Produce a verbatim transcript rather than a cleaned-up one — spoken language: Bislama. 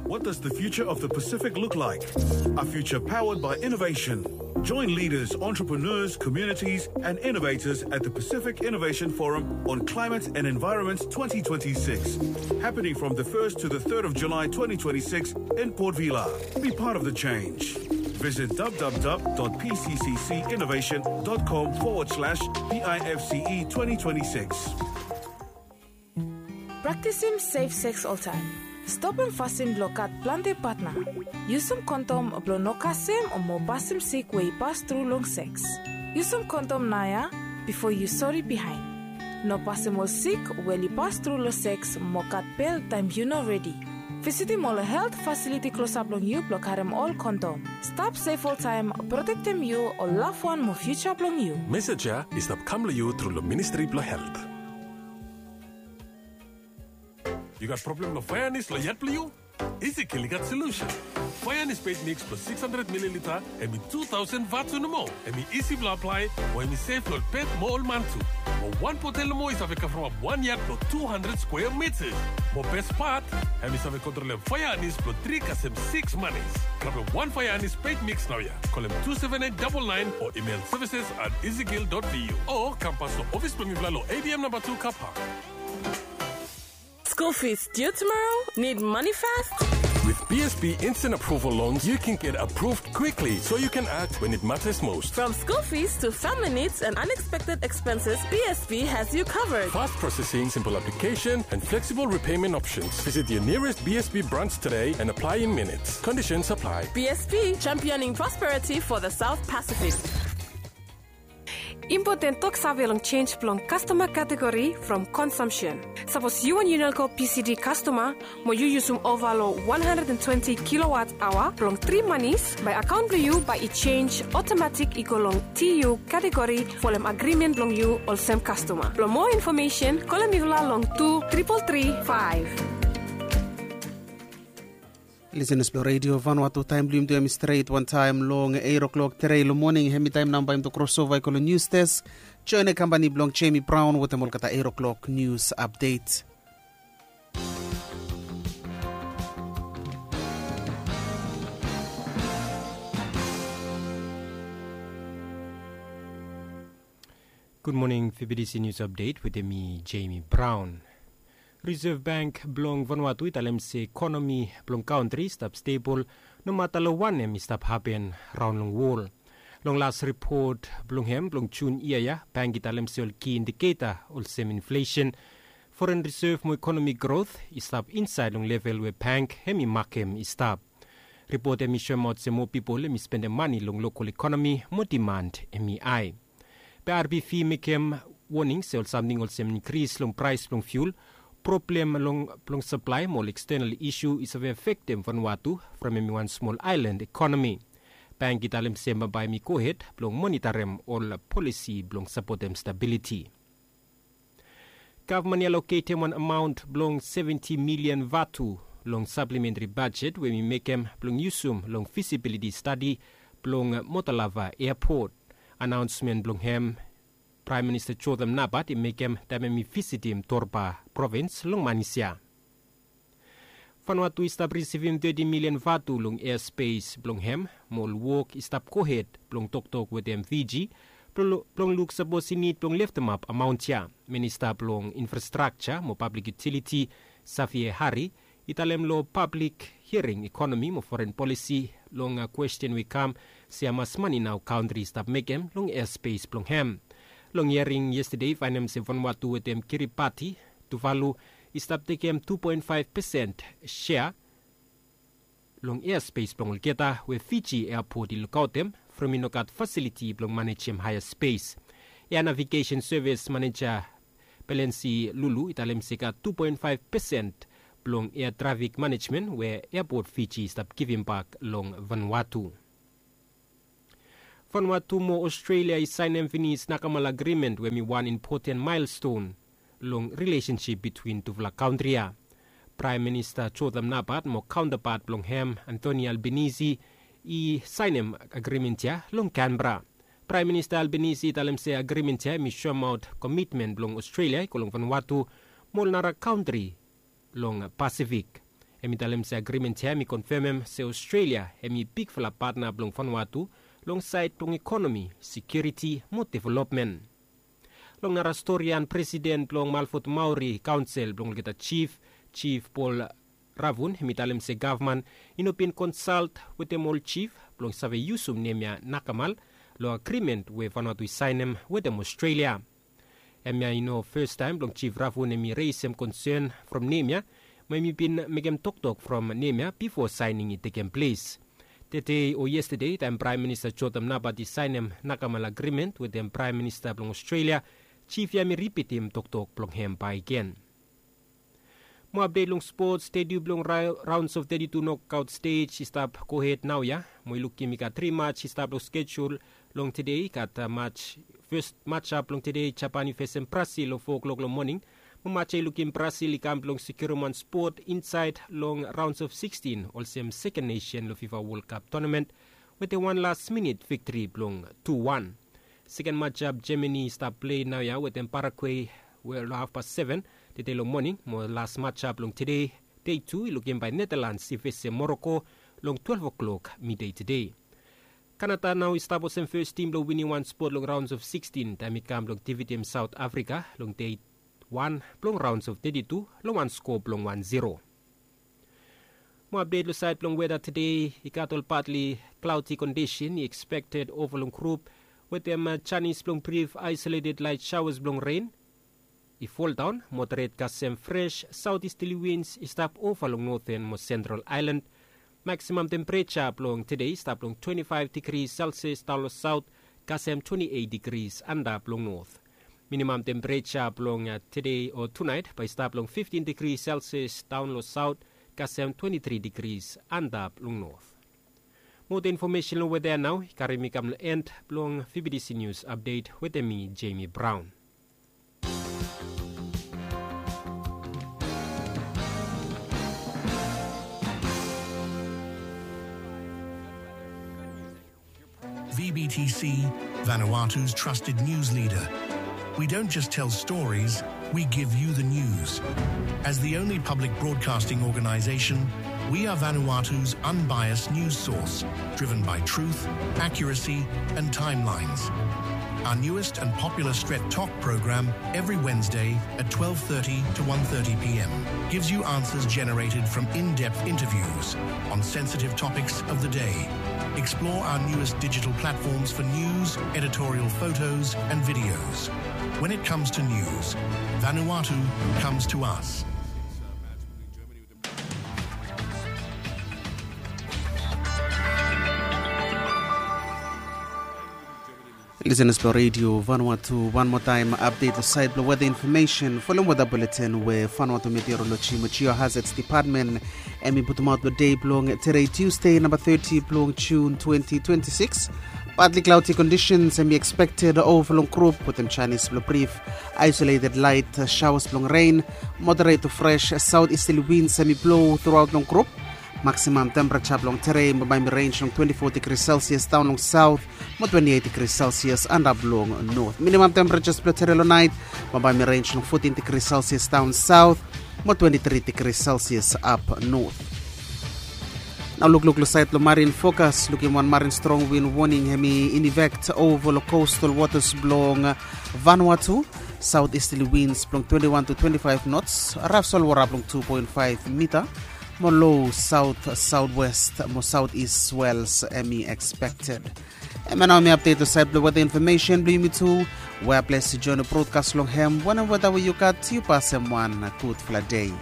What does the future of the Pacific look like? A future powered by innovation. Join leaders, entrepreneurs, communities, and innovators at the Pacific Innovation Forum on Climate and Environment twenty twenty-six, happening from the first to the third of July twenty twenty-six in Port Vila. Be part of the change. Visit www.pcccinnovation.com forward slash PIFCE twenty twenty-six. Praktisim sef seks oltaem. Stopim fasin blong gat plante patna. Yusum kondom blong no kasem o mo pasim sik we i pas tru long seks. Yusum kondom naoia bifo yu sori bihaen. No pasim ol sik we oli pas tru long seks mo gat bel taem yu no redi. Visitim ol helt fasiliti klosap long yu blong karem ol kondom. Stap sef oltaem, protektem yu, ol lavwan mo fiuja blong yu. Mesej ya i stap kam long yu tru long Ministri blong Helt. Yu gat problem long faeanis long yat blong yu? Ezekiel i gat solusen. Faeanis peit miks blong six hundred mililita, hem i two thousand vatu nomo. Hem i isi blong aplae, mo hem i sef long ol pet mo ol man tu. Mo wan botel nomo i save kavremap wan yat blong two hundred skwea mitas. Mo bes pat, hem i save kontrolem faeanis blong tri kasem six manis. Grabem wan faeanis peit miks naoia. Kolem two seven eight double nine o email services at ezekiel dot vu. O kam pas long ofis blong mifala long A B M namba tu Car Park. School fees due tomorrow? Need money fast? With B S B Instant Approval Loans, you can get approved quickly so you can act when it matters most. From school fees to family needs and unexpected expenses, B S B has you covered. Fast processing, simple application, and flexible repayment options. Visit your nearest B S B branch today and apply in minutes. Conditions apply. B S B, championing prosperity for the South Pacific. Impoten toksave long jenj blong kastoma kategori from konsumsen. Sapos yu wan Unelco P C D kastoma mo yu yusum ova long one hundred and twenty kilowatt aoa blong tri manis, bae akaon blong yu bae i jenj otomatik i go long T U kategori folem agrimen blong yu olsem kastoma. Blong moa infomesen, kolem mifala long tu tripol tri faef. Lisenas blong Redio Vanuatu, taem blong yumi tu hem i stret wantaem long eight o'clock trei long moning. Hem i taem nao bae yumi tu krosova i go long nius desk. Joen he kambani blong Jamie Brown wetem olgeta eight o'clock nius apdet. Gud moning, F B C News Update wetem mi, Jamie Brown. Reserve Bank blong Vanuatu i talem se ekonomi blong kantri i stap stebol nomata long wanem i stap hapen raon long wol. Long las ripot blong hem blong Jun yia ya, bank i talem se ol ki indiketa olsem inflesen, foren risev mo ekonomi grot i stap insaed long level we bank hem i makem i stap. Ripot hem i soemaot se moa pipol hem i spendem mane long lokol ekonomi mo diman hem i ae. Be R B V i mekem woning se ol samting olsem inkris long praes blong fiul, problem long, blong saplae mo ol ekstenal isu i save afektem Vanuatu from hem i wan smol aelan ekonomi. Bank i talem se bambae hem i gohed blong monitarem ol polisi blong sapotem stabiliti. Gavman i aloketem wan amaon blong seventi milian vatu long saplementri bajet we hem i mekem blong yusum long fisibiliti stadi blong Motalava eapot. Anaonsmen blong hem Praem Minista Jotham Napat i mekem taem hem i visitim Torba provins long manis ya. Vanuatu i stap risivim teti milian vatu long easpes blong hem, mo ol wok i stap gohed blong toktok wetem Fiji blong, blong luk sapos i nid blong leftemap amaon ya. Minista blong Infrastrakja mo Pablik Yutiliti, Xavier Hari, i talem long pablik hiaring ekonomi mo foren polisi long, a, kwesten we i kam se hamas mane nao kantri i stap mekem long easpes blong hem. Long hiaring yestade i faenem se Vanuatu wetem Kiribati, Tuvalu, i stap tekem tu poen faef pesen sea long easpes blong olgeta we Fiji eapot i lukaotem from i no gat fasiliti blong manejem haea spes. Ea Navigesen Sevis Maneja Pelensi Lulu i talem se i gat tu poen faef pesen blong ea trafik manejmen we eapot Fiji i stap givimbak long Vanuatu. Vanuatu mo Ostrelia i saenem finis nakamal agrimen we hem i wan impoten maelston long rilesensip bitwin tufala kantri ya. Praem Minista Jotham Napat mo kaontapat blong hem, Anthony Albanese, i saenem agrimen ya long Canberra. Praem Minista Albanese i talem se agrimen ya hem i soemaot komitmen blong Ostrelia i go long Vanuatu mo ol nara kantri long Pasifik. Hem i talem se agrimen ya hem i konfemem se Australia hem i bigfala patna blong Vanuatu long saed blong ekonomi, sekiuriti mo developmen. Long nara stori ya, presiden blong Malfot Maori Kaonsel blong olgeta jif, Jif Paul Ravun, hem i talem se gavman i no bin konsalt wetem ol jif blong save yusum nem ya nakamal long agrimen we Vanuatu i saenem wetem Australia. Hemia i no fastaem blong Jif Ravun hem i resem konsen from nem ya, mo hem i bin mekem toktok from nem ya bifo saening i tekem ples. Tede o yestede, taem Praem Minista Jotham Napat i saenem nakamal agrimen wetem Praem Minista blong Australia, jif ya hem i ripitim toktok blong hem bakegen. Mo apdet long spots, teti blong raons of teti tu nokaot stej i stap gohed naoia. Mo i lukim i gat tri mats i stap long skejul long tede. I gat mats, fes matsap blong tede, Japan i fesem Brasil long fo klok long moning. Mo mats ya i lukim Brasil i kam blong sekiurim wan spot insaed long raons of sikstin olsem seken nesen long Fifa Wol Kap tonamen wetem wan las minit viktri blong tu wan. Seken matsap, Jamani i stap plei naoia wetem Paraguay we long hafpas seven tede long moning. Mo las matsap long tede, dei tu, i lukim bae Netalans i fesem Moroko long twelef o'klok midei tede. Kanada nao i stap olsem fes tim blong winim wan spot long raons of sikstin taem i kam blong difitim Saot Afrika long dei wan blong raons of teti tu long wan skoa blong wan ziro. Mo apdet long saed blong weda tede, i gat ol patli klaoti kondisen i ekspekted ova long grup wetem janis blong brif aisoleted laet saoas blong ren i foldaon, moderet kasem fres saotisterli wins i stap ova long noten mo sentral aelan. Maksimam tempereja blong tede i stap long twenti faef digri selsias daon long saot kasem twenti eit digri antap long not. Minimam tempereja blong tede o tunaet bae i stap long fiftin digri selsias daon long saot kasem twenti tri digri antap long not. Moa infomesen long weda ya nao i karim mi kam long en blong V B T C News Update wetem mi, Jamie Brown. V B T C, Vanuatu's trusted news leader. We don't just tell stories, we give you the news. As the only public broadcasting organization, we are Vanuatu's unbiased news source, driven by truth, accuracy, and timelines. Our newest and popular Stret Tok program every Wednesday at twelve thirty to one thirty p.m. gives you answers generated from in-depth interviews on sensitive topics of the day. Explore our newest digital platforms for news, editorial photos, and videos. When it comes to news, Vanuatu comes to us. Lisenas blong Redio Vanuatu, wan moa taem apdet long saed blong weda infomesen folem weda buletin we Vanuatu Meteoroloji mo Geohazards Depatmen hem i putumaot long dei blong tede, Tusde, namba teti blong Jun twenti twenti sikis. Patli klaoti kondisens hem i ekspekted ova long grup wetem janis blong brif aisoleted laet saoas blong ren. Moderet tu fres saotisterli wins hem i blou truaot long grup. Maksimam tempereja blong tede bambae hem i renj long twenti fo digri selsias daon long saot mo twenti eit digri selsias antap long not. Minimam tempereja blong tede long naet bambae hem i renj long fotin digri selsias daon saot mo twenti tri digri selsias ap not. Nao lukluk long saed blong marin fokas, lukim wan marin strong win woning hem i in efek ova long kostal wotas blong Vanuatu. Saotisterli wins blong twenti wan tu twenti faef nots, raf solwota blong tu poen faef mita, mo lo saot, saotwes mo saotis swels hem i ekspekted. Hemia nao hemi apdet long saed blong weda infomesen blong yumi tu. Wea ples yu joen long brodkas long hem, wanem weda we yu gat, yu pasem wan gudfala dei.